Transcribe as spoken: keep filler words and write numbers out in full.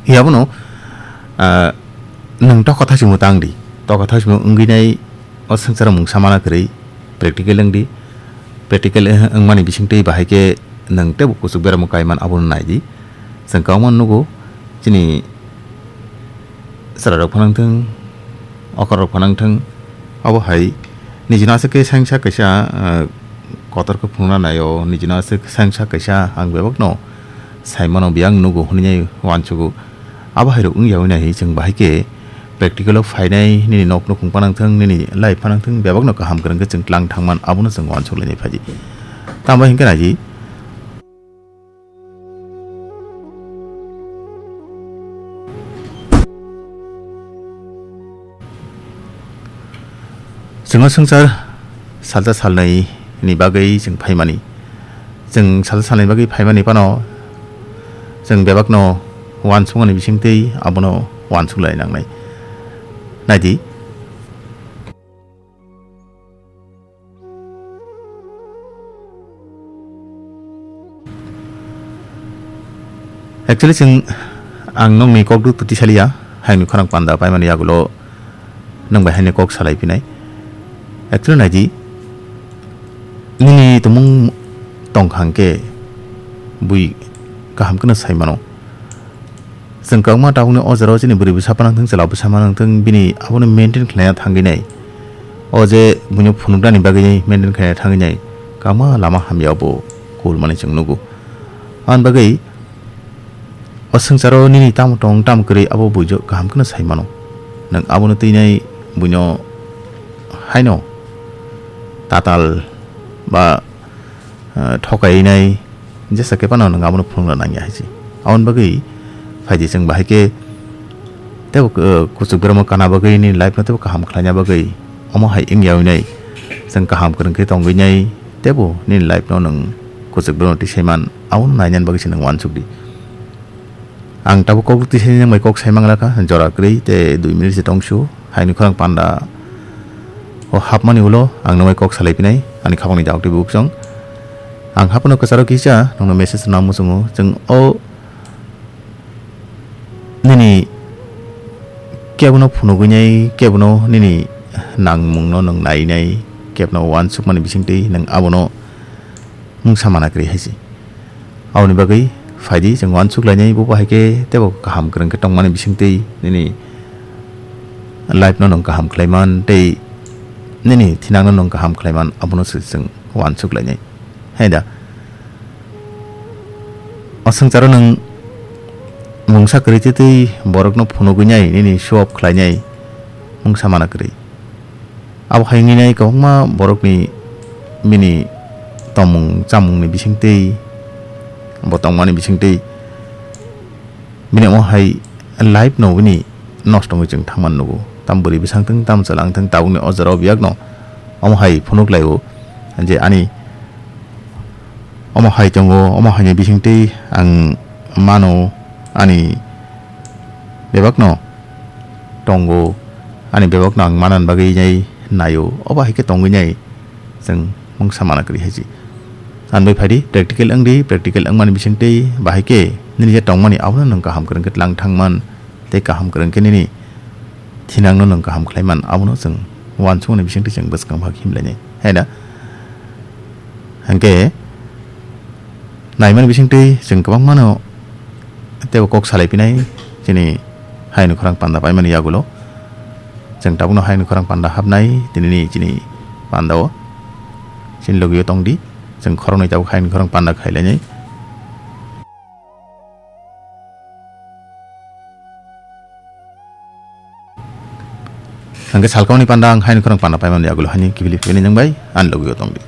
Yabono, ah, nwng tokotha simo tang di. Tokotha simo wngwi nai o swngcharo mungsa mana kwrwi practical wng di. Practical wngmani bisingtwi bahai khe nwng teibo kuchuk beramo kaiman abono nai di. Chwng kok ma nugo chini chwrairok phano wng thung, okorok phano wng thung, obo hai nijino aswk khe sengsa kaisa, ah, kotor khe phunukna nai o, nijino aswk sengsa kaisa ang bebakno saimano biyang nugo hwnwi uansugo. Abo hai rok wngya hwnwi nai chwng bahai khe practical o phainai nini nok nukhung phano wng thung, nini life phano wng thung, bebakno kaham kwrwng khe chwng tlang thangman abono chwng uansuk lainai phaidi. Tamo hinkhe nai di. Chwng o swngchar salsa salnwi ni bagwi chwng phaimani. Chwng salsa salnwi bagwi phaimani phano chwng bebakno uansukmani bisingtwi abono uansuk lai nangnai. Nai di. Actually, chwng, ang nokni kok duk twi saliya, hayungni khorang panda paimani yagulo nwng bai haino kok salai phinai. Actually, nai di, nini tumung tong kha hwnkhe bui kaham kheno sai mano. Chwng kwbangma tabukni o jora o chini bwrwi bwsa phano wng thung, chwla bwsa phano wng thung, bini abono maintain khlaina thangwi nai. O je buino phunuknani bagwi maintain khlaina thangwi nai, kwbangma lama hamya bo kulmani chwng nugo. Aboni bagwi o swngcharo nini tamo tong tamo kwrwi abo buijo kaham kheno sai mano. Nwng abono twi nai buino haino tatal ba ah, thokainai jesa khe phano nwng abono phunukna nangya hai se. Aboni bagwi phaidi chwng bahai khe teibo, ah, kuchuk beramo kana bagwi nini life no teibo kaham khlaina bagwi omo hai wngya hwnwi nai chwng kaham kwrwng khe tongwi nai teibo nini life no nwng kuchuk beramo tisaiman abono nainani bagwi se nwng uansuk di. Ang tabuk kok twi sini nang bai kok sai manglakha, jora kwrwi tei dui minute se tongsu. Haini khorang panda o hapmani ulo ang nang bai kok salai pinai, ani khapangni dauk twi buk chwng. Ang haphano kwcharo kisa nongno message rwna muchungo. Chwng o nini kebono phunugwi nai, kebono nini nangmungno nwng nai nai, kebono uansukmani bisingtwi nwng abono mungsa mana kwrwi hai se. Aboni bagwi phaidi chwng uansuk lainai, bo bahai khe teibo kaham kwrwng khe tongmani bisingtwi nini life no nwng kaham khlaiman tei nini thinang no nwng kaham khlaiman, abono se chwng uansuk lainai. Hai da? O swngcharo nwng mungsa kwrwi twi twi borokno phunugwi nai, nini show off khlainai mungsa mana kwrwi. Abo hai wngwi nai kwbangma borokni bini tongmung chamungni bisingtwi, bo tongmani bisingtwi bini omo hai life no bini nosto wngwi chwng thangmani nugo. Tam bwrwi bwsang thung, tam chwla wng thung, tabukni o jora o biyakno omo hai phunuk laio je ani omo hai tongo, omo haini bisingtwi ang mano, ani bebakno tongo, ani bebakno ang manani bagwi nai naio, obo hai khe tongwi nai chwng mungsa mana kwrwi hai se. Ang bai phaidi, practical wng di, practical wngmani bisingtwi bahai khe nini je tongmani abono nwng kaham kwrwng khe tlang thangman tei kaham kwrwng khe nini thinangno nwng kaham khlaiman, abono chwng uansukmani bisingtwi chwng bwskang bhag himlainai, hai da? Hwnkhe naimani bisingtwi chwng kwbangmano teibo kok salai pinai chini hayungni khorang panda paimani yagulo. Chwng tabukno hayungni khorang panda hapnai tinini chini pandao. Chini logio tongdi, chwng khoroknwi tabuk hayungni khorang panda khailainai. Hwnkhe salkauni panda ang hayungni khorang panda paimani yagulo haini kibili philini nwng bai ani logio tongdi.